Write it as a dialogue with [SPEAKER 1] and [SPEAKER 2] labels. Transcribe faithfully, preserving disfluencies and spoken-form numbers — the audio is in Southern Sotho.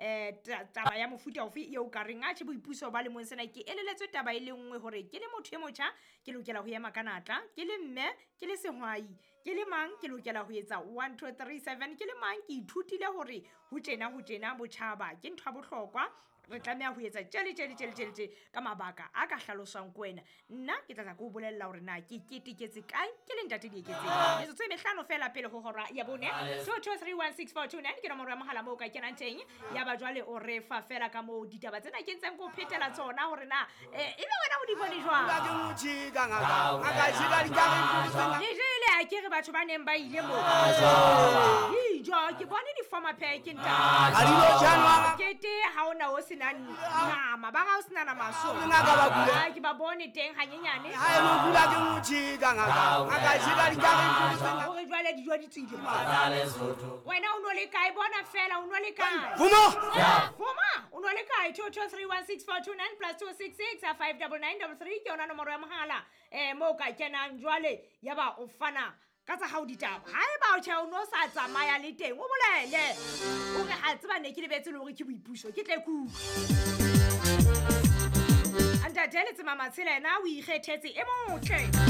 [SPEAKER 1] um taba ya mofuta ofe eo ka reng atjhe boipuso ba lemong sena ke eleletswe taba e le nngwe hore ke le motho e motjha ke lokela ho ema ka natla, ke le mme, ke le sehwai, ke le mang ke lokela ho etsa one two three seven, ke le mang ke ithutile hore ho tjena ho tjena botjhaba ke ntho ya bohlokwa, re tlameha ho etsa tje le tje le tje le tje le tje ka mabaka a ka hlaloswang ke wena. Nna ke tla tla ke o bolella hore na ke keteketse kae ke le ntate Dieketseng. Metsotso e mehlano fela pele ho hora ya bone. two two three one six four two nine ke nomoro ya mohala moo o ka kenang teng. Ya ba jwale o re fa fela ka moo ditaba tsena ke ntseng ke o phetela tsona hore na eh, ebe wena o di bone jwang. Le jele a ke re batho ba neng ba ile moo. Dijo ke bone di-former pack ntate. Kete ha ona o sena nama, ba ga o sena nama so. Ah, ke ba bone teng hanyenyane. Hore jwale dijo di tswile. Wena o no le kae? Bona fela o no le kae? Fuma, o no le kae? two two three one six four two nine plus two six six five double nine double three ke yona nomoro ya mohala. Eh moo ka kenang jwale ya ba o fana ka tsa hao ditaba. Haeba o tjhe o no sa tsamaya le teng, o bolele. O re ha tseba ne ke lebetse le hore ke boipuso, ke tle ke utlwe. Ntate Letsema Matshela yena o ikgethetse e motle.